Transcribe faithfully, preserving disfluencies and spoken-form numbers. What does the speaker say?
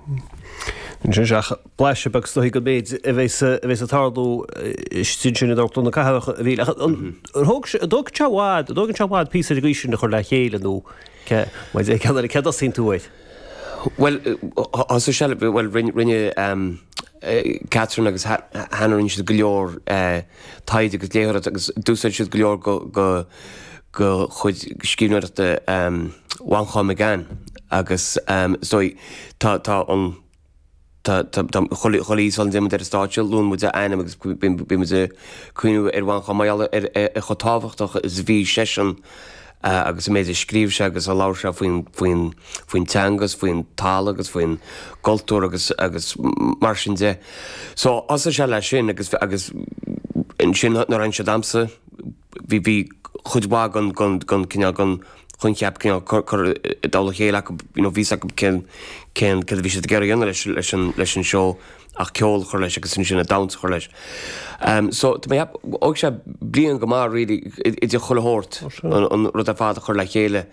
Sin seach blaiseadh beag is dóigh den méid a bheas a bheas ag tarlú istigh ansin in Amharclann na Cathrach a bhí thóg sé dóg sé bhfad dógann sé bhfad píosa de sin a chur le chéile nó ce ce dtosaíonn tú air. Well thosaigh sé well rinne um, Catherine agus Hannah rinne siad go leor taighde agus léitheoireacht agus d'úsáid siad go leor go go go chuid scríbhneoireachta um, Mhanchán Magan agus um, so tá tá an chuile sula dtéann muid ar an stáitse luann muid a ainm agus bíonn muid ag cuimhneamh ar Mhanchán mar gheall ar ar chomh tábhachtach is a bhí seisean agus an méid a scríobh sé agus a labhair sé faoin faoin faoin teanga agus faoin talamh agus faoin gcultúr agus agus mar sin de. So thosaigh sé leis sin agus agus ansin nuair a tháinig sé domsa bhí bhí chuid mhaith den den den cineál den choincheap cineál cur i dtoll a chéile acu you know bhí acu cén cén céard a bhí siad ag iarraidh a dhéanamh leis leis an leis an seó ach ceol a chur leis agus ansin an damhsa a chur leis. Um, so tá mé thóg sé bliain go maith really idir chuile shórt an, an rud ar fad a chur le chéile.